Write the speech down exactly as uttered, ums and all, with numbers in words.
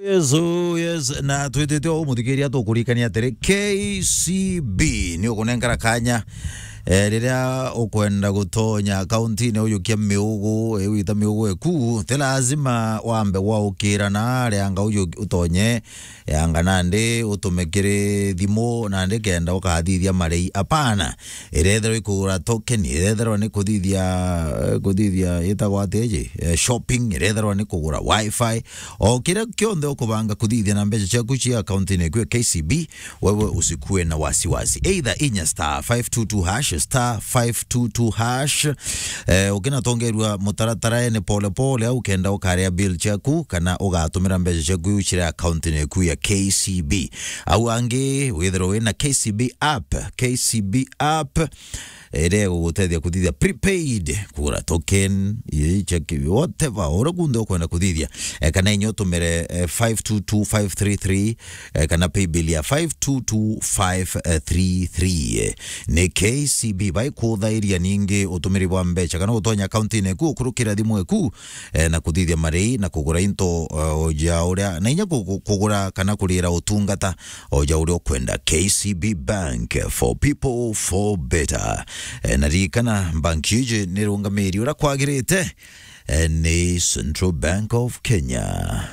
Yes, oh, yes. Na twitite o muthikiria tukurikania atiri, K C B ni ukunenkara kanya, eh, riria ukwenda gutonya akaunti-ini ujukia miugu, eh, wita miugu eku, ti lazima wambe gwaukira na aria anga uju-, utonye, eh, anga nandi utume kiri thimu, nandi kenda ukathithia marei. Apana. Irethirwa ikugura token, irethirwa ni kuthithia, eh, kuthithia itagwa atiji, eh, shopping, irethirwa ni kugura wifi, o kiria kionthe ukubanga kuthithia na mbeca ciaku cia akaunti-ini eku ya K C B, wewe usikue na wasiwasi. Either inya star five two two hash, star five two two hash, eh, ukinatongerua mutaratara ene pole pole, au kenda ukaria bill ciaku, kana ugatumira mbeca ciaku iu ciri akaunti-ini eku ya K C B. Au angi, withirwa wina K C B app, K C B app, iria igugutethia kuthithia prepaid, kugura token, i-, check, whatever, uria kunthe ukwenda kuthithia. Eh, kana inya utumire, eh, five two two five three three, eh, kana paybill ya five two two five three three. Eh, ni K C B baikuthairia ningi utumiri bwa mbeca, kana gutonya akaunti-ini eku, ukurukira thimu eku, eh, na kuthithia marei na kugura into, eh, o ja uria, na inya ku-, ku-, kugura kana kurira utungata o ja uria ukwenda. K C B Bank, for people, for better. Eh, na ririkana, bank iji ni rungamiri uria kwagirite, eh, ni Central Bank of Kenya.